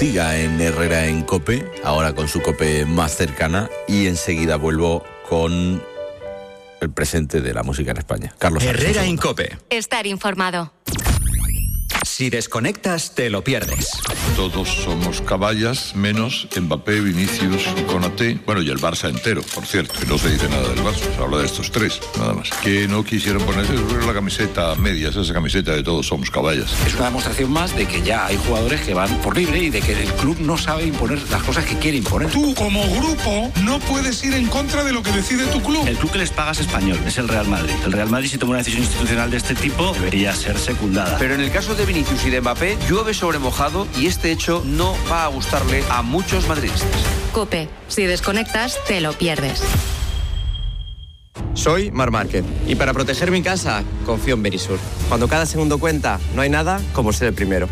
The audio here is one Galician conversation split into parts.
siga en Herrera en COPE, ahora con su COPE más cercana, y enseguida vuelvo con el presente de la música en España. Carlos Herrera en COPE. Estar informado. Si desconectas, te lo pierdes. Todos somos caballas, menos Mbappé, Vinicius, Konaté, bueno, y el Barça entero, por cierto, que no se dice nada del Barça, se habla de estos tres, nada más. Que no quisieron ponerse la camiseta medias, esa camiseta de todos somos caballas. Es una demostración más de que ya hay jugadores que van por libre y de que el club no sabe imponer las cosas que quiere imponer. Tú, como grupo, no puedes ir en contra de lo que decide tu club. El club que les paga es español, es el Real Madrid. El Real Madrid, si toma una decisión institucional de este tipo, debería ser secundada. Pero en el caso de Vinicius y de Mbappé, llueve sobre mojado y este hecho no va a gustarle a muchos madridistas. COPE. Si desconectas, te lo pierdes. Soy Mar Márquez y para proteger mi casa confío en Verisur. Cuando cada segundo cuenta, no hay nada como ser el primero.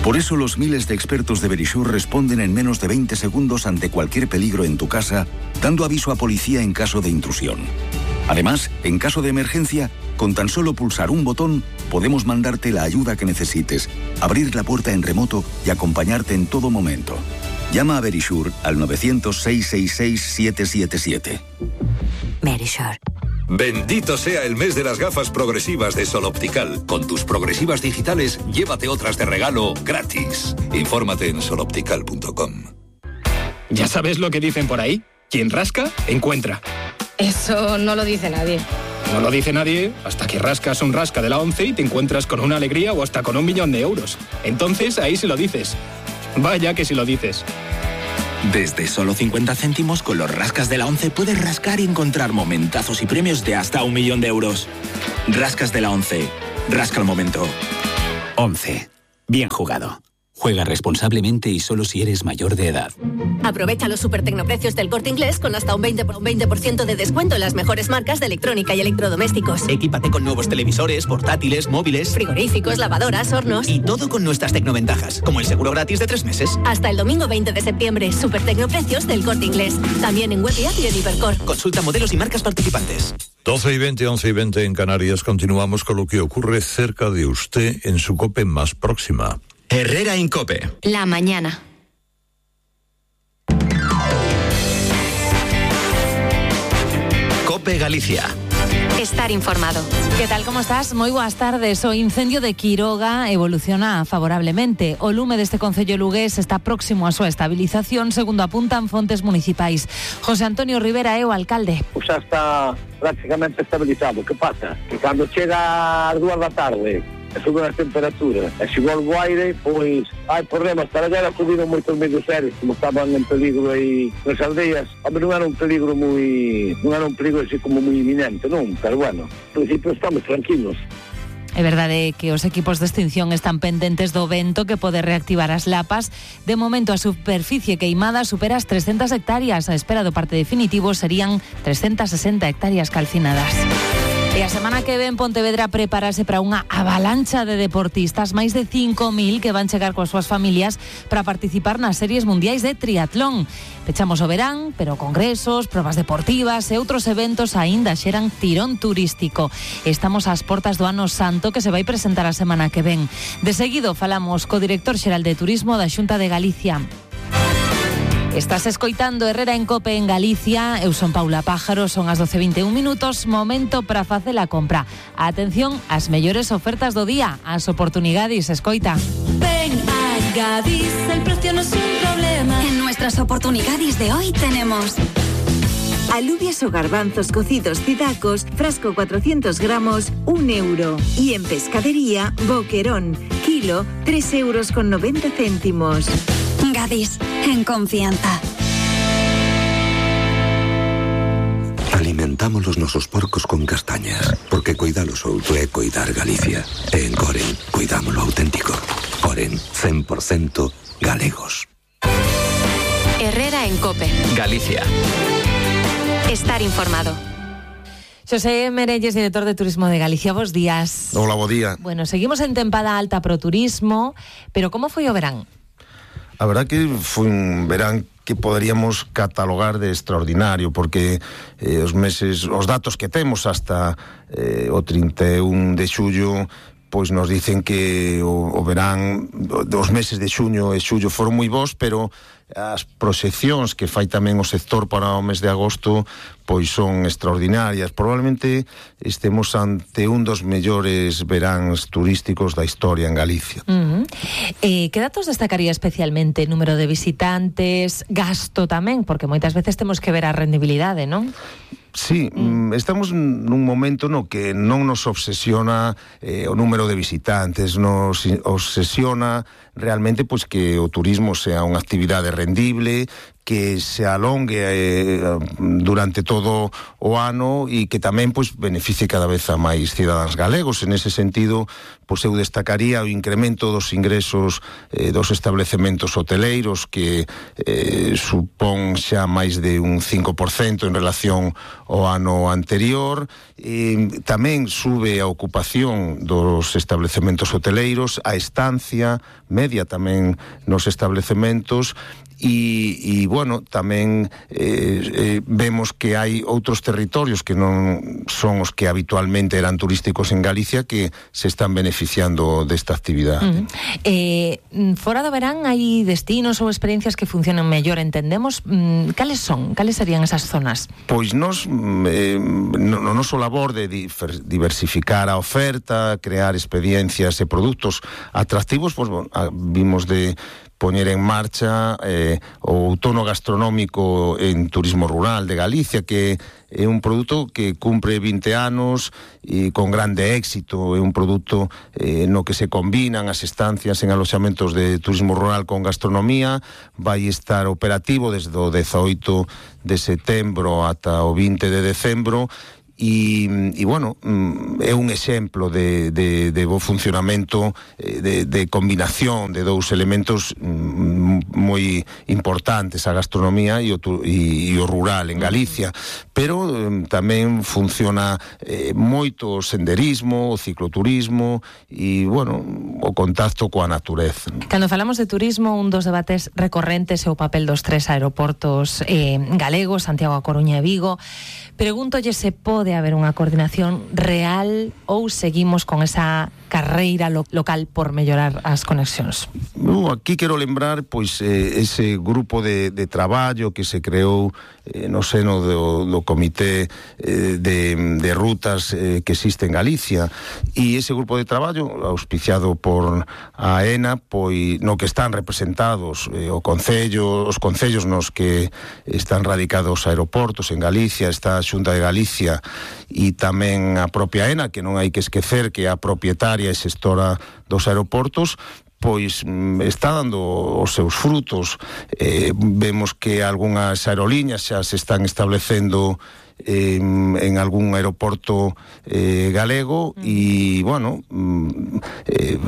Por eso los miles de expertos de Verisur responden en menos de 20 segundos ante cualquier peligro en tu casa, dando aviso a policía en caso de intrusión. Además, en caso de emergencia, con tan solo pulsar un botón, podemos mandarte la ayuda que necesites, abrir la puerta en remoto y acompañarte en todo momento. Llama a Verisur al 900-666-777. Verisur. Bendito sea el mes de las gafas progresivas de Sol Optical. Con tus progresivas digitales, llévate otras de regalo gratis. Infórmate en soloptical.com. ¿Ya sabes lo que dicen por ahí? Quien rasca, encuentra. Eso no lo dice nadie. No lo dice nadie hasta que rascas un rasca de la ONCE y te encuentras con una alegría o hasta con 1 millón de euros. Entonces ahí sí lo dices. Vaya que sí lo dices. Desde solo 50 céntimos con los rascas de la ONCE puedes rascar y encontrar momentazos y premios de hasta 1 millón de euros. Rascas de la ONCE. Rasca el momento. ONCE. Bien jugado. Juega responsablemente y solo si eres mayor de edad. Aprovecha los supertecnoprecios del Corte Inglés con hasta un 20% de descuento en las mejores marcas de electrónica y electrodomésticos. Equípate con nuevos televisores, portátiles, móviles, frigoríficos, lavadoras, hornos. Y todo con nuestras tecnoventajas, como el seguro gratis de 3 meses. Hasta el domingo 20 de septiembre, supertecnoprecios del Corte Inglés. También en web y app y en Hipercor. Consulta modelos y marcas participantes. 12:20, 11:20 en Canarias. Continuamos con lo que ocurre cerca de usted en su COPE más próxima. Herrera en COPE. La mañana. COPE Galicia. Estar informado. ¿Qué tal? ¿Cómo estás? Moi boas tardes. O incendio de Quiroga evoluciona favorablemente. O lume deste concello lugués está próximo a súa estabilización, segundo apuntan fontes municipais. José Antonio Rivera é o alcalde. Xa está prácticamente estabilizado. Que pasa? Que cando chega ás 2 da tarde e suben as temperaturas e se volve o aire, pois hai problemas. Para allá acudiron moitos medios serios, como estaban en peligro aí nas aldeas. Hombre, non era un peligro así como moi inminente, non? Pero bueno, en principio estamos tranquilos. É verdade que os equipos de extinción están pendentes do vento que pode reactivar as lapas. De momento a superficie queimada supera as 300 hectáreas. A espera do parte definitivo serían 360 hectáreas calcinadas. E a semana que ven Pontevedra prepárase para unha avalancha de deportistas, máis de 5.000 que van chegar coas súas familias para participar nas series mundiais de triatlón. Pechamos o verán, pero congresos, probas deportivas e outros eventos aínda xeran tirón turístico. Estamos ás portas do Ano Santo que se vai presentar a semana que ven. De seguido falamos co director xeral de Turismo da Xunta de Galicia. Estás escoitando Herrera en COPE en Galicia. Eu son Paula Pájaro, son as 12:21 minutos, momento para facer a compra. Atención ás mellores ofertas do día, as oportunidades, escoita. Ven a Gadis, el precio no es un problema. En nuestras oportunidades de hoy tenemos alubias o garbanzos cocidos Cidacos, frasco 400 gramos, 1 euro. Y en pescadería, boquerón, kilo, 3,90 euros. Gadis, en confianza. Alimentamos os nosos porcos con castañas, porque cuidalos outro é cuidar Galicia. E en Coren, cuidamos lo auténtico. Coren, 100% galegos. Herrera en COPE. Galicia. Estar informado. Xosé Merelles, director de Turismo de Galicia, bos días. Hola, bo día. Bueno, seguimos en tempada alta pro turismo, pero como foi o verán? A verdad que foi un verán que poderíamos catalogar de extraordinario, porque os datos que temos hasta o 31 de xullo pois nos dicen que o verán, os meses de xuño e xullo foron moi bons, pero as proxeccións que fai tamén o sector para o mes de agosto pois son extraordinarias. Probablemente estemos ante un dos mellores veráns turísticos da historia en Galicia. Que datos destacaría especialmente? Número de visitantes, gasto tamén, porque moitas veces temos que ver a rendibilidade, non? Sí, estamos nun momento no que non nos obsesiona o número de visitantes, nos obsesiona realmente pois que o turismo sea unha actividade rendible, que se alongue durante todo o ano e que tamén pois beneficie cada vez a máis cidadáns galegos. En ese sentido, pois eu destacaría o incremento dos ingresos dos establecementos hoteleiros, que supón xa máis de un 5% en relación ao ano anterior. Tamén sube a ocupación dos establecementos hoteleiros, a estancia media tamén nos establecementos. E bueno, tamén vemos que hai outros territorios que non son os que habitualmente eran turísticos en Galicia que se están beneficiando desta actividade. Fora do verán hai destinos ou experiencias que funcionan mellor, entendemos. Cales son? Cales serían esas zonas? Pois nos no noso labor de diversificar a oferta, crear experiencias e produtos atractivos, pois bueno, vimos de poñer en marcha o outono gastronómico en turismo rural de Galicia, que é un produto que cumpre 20 anos e con grande éxito. É un produto no que se combinan as estancias en aloxamentos de turismo rural con gastronomía. Vai estar operativo desde o 18 de setembro ata o 20 de decembro. E bueno, é un exemplo de bo funcionamento, de combinación de dous elementos moi importantes, a gastronomía e o rural en Galicia, pero tamén funciona moito o senderismo, o cicloturismo e, bueno, o contacto coa natureza. Cando falamos de turismo, un dos debates recorrentes é o papel dos tres aeroportos galegos, Santiago, A Coruña e Vigo. Pregúntolle se pode haber unha coordinación real ou seguimos con esa carreira local por mellorar as conexións. Aquí quero lembrar pois ese grupo de traballo que se creou no seno do comité de rutas que existe en Galicia, e ese grupo de traballo auspiciado por a AENA, pois no que están representados os concellos nos que están radicados aeroportos en Galicia, está a Xunta de Galicia e tamén a propia AENA, que non hai que esquecer que é a propietaria e xestora dos aeroportos, pois está dando os seus frutos. Vemos que algunhas aerolíneas xa se están establecendo en algún aeroporto galego e, bueno,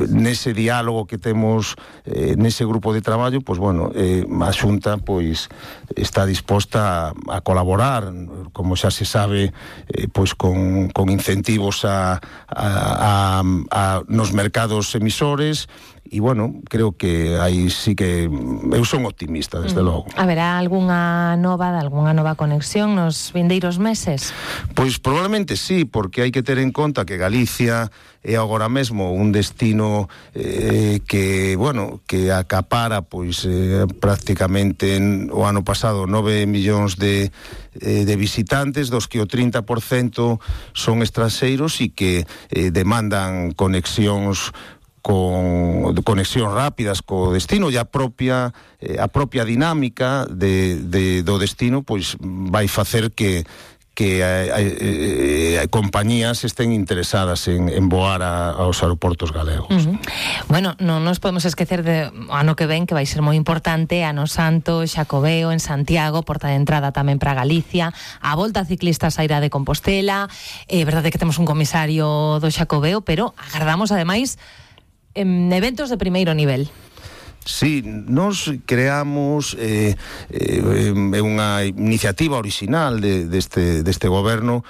nese diálogo que temos nese grupo de traballo, pois, bueno, a Xunta pois está disposta a colaborar, como xa se sabe, pois con incentivos nos mercados emisores. E, bueno, creo que aí sí que eu son optimista, desde logo. Haberá algunha nova conexión nos vindeiros meses? Pois probablemente sí, porque hai que ter en conta que Galicia é agora mesmo un destino que, bueno, que acapara pois prácticamente o ano pasado 9 millóns de visitantes, dos que o 30% son estranxeiros e que demandan conexións rápidas co destino, e a propia dinámica do destino pois vai facer que compañías estén interesadas en voar aos aeroportos galegos. Bueno, non nos podemos esquecer de ano que ven, que vai ser moi importante, Ano Santo, Xacobeo en Santiago, porta de entrada tamén para Galicia, a Volta Ciclista Saíra de Compostela. É verdade que temos un comisario do Xacobeo, pero agardamos ademais eventos de primeiro nivel. Sí, nos creamos unha iniciativa original deste goberno,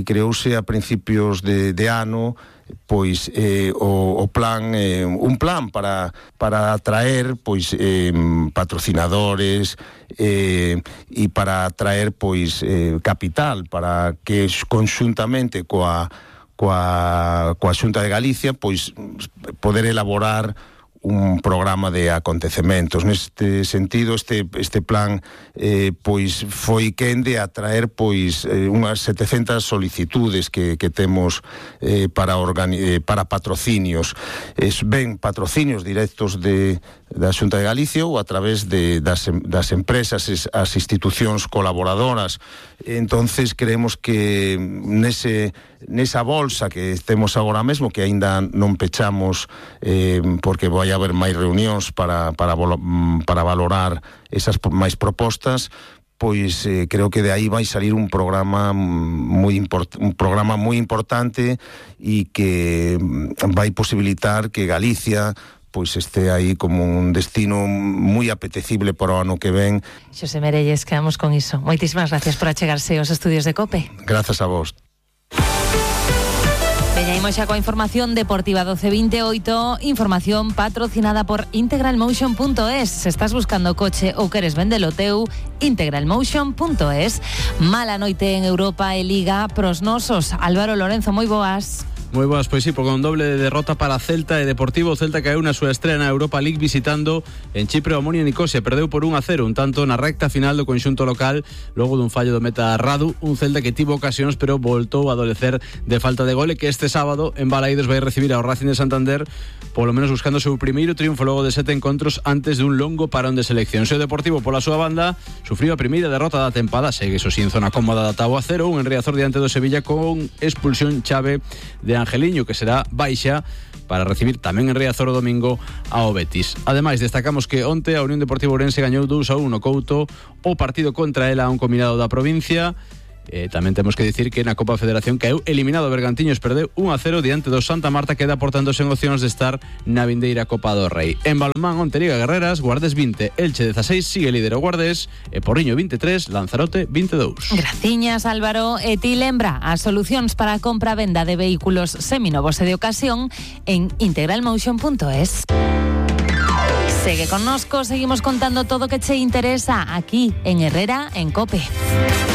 creouse a principios de ano, pois un plan para atraer pois patrocinadores e para atraer pois capital, para que conxuntamente coa coa Xunta de Galicia, pois poder elaborar un programa de acontecementos. Neste sentido, este plan pois foi quende a traer pois unhas 700 solicitudes que temos para patrocinios. Ben patrocinios directos da Xunta de Galicia ou a través das empresas, as institucións colaboradoras. Entonces creemos que nesa bolsa que temos agora mesmo, que aínda non pechamos porque vai haber máis reunións para valorar esas máis propostas, pois creo que de aí vai salir un programa moi importante e que vai posibilitar que Galicia pois este aí como un destino moi apetecible para o ano que ven. Xosé Merelles, quedamos con iso. Moitísimas gracias por achegarse aos estudios de COPE. Grazas a vos. Veñaimos xa coa información deportiva 12:28, información patrocinada por integralmotion.es. Se estás buscando coche ou queres vendelo teu, integralmotion.es. Mala noite en Europa e Liga pros nosos. Álvaro Lorenzo, moi boas. Moi boas, pois sí, porque un doble de derrota para Celta e Deportivo. Celta caeu na súa estrea na Europa League visitando en Chipre o Omonia Nicosia, perdeu por 1-0, un tanto na recta final do conxunto local, logo dun fallo do meta Radu, un Celta que tivo ocasións pero voltou a adolecer de falta de gole, que este sábado en Balaídos vai recibir ao Racing de Santander, polo menos buscando o seu primeiro triunfo logo de 7 encontros antes dun longo parón de selección. O Deportivo, pola súa banda, sufriu a primeira derrota da tempada, segue iso sin zona cómoda da táboa 0, un en Riazor diante do Sevilla con expulsión chave de Angeliño, que será baixa para recibir tamén en Riazor o domingo ao Betis. Ademais, destacamos que onte a Unión Deportiva Ourense gañou 2-1 Couto o partido contra ela a un combinado da provincia. Tamén temos que dicir que na Copa Federación caeu eliminado Bergantiños, perdeu 1-0 diante do Santa Marta, queda portanto sen opcións de estar na vindeira Copa do Rei. En balonmán, onte Liga Guerreras, Guardes 20, Elche 16, sigue líder o Guardes, e Porriño 23, Lanzarote 22. Graciñas, Álvaro. E ti lembra as solucións para a compra e venda de vehículos seminovos e de ocasión en integralmotion.es. Segue connosco, seguimos contando todo o que che interesa aquí en Herrera en COPE.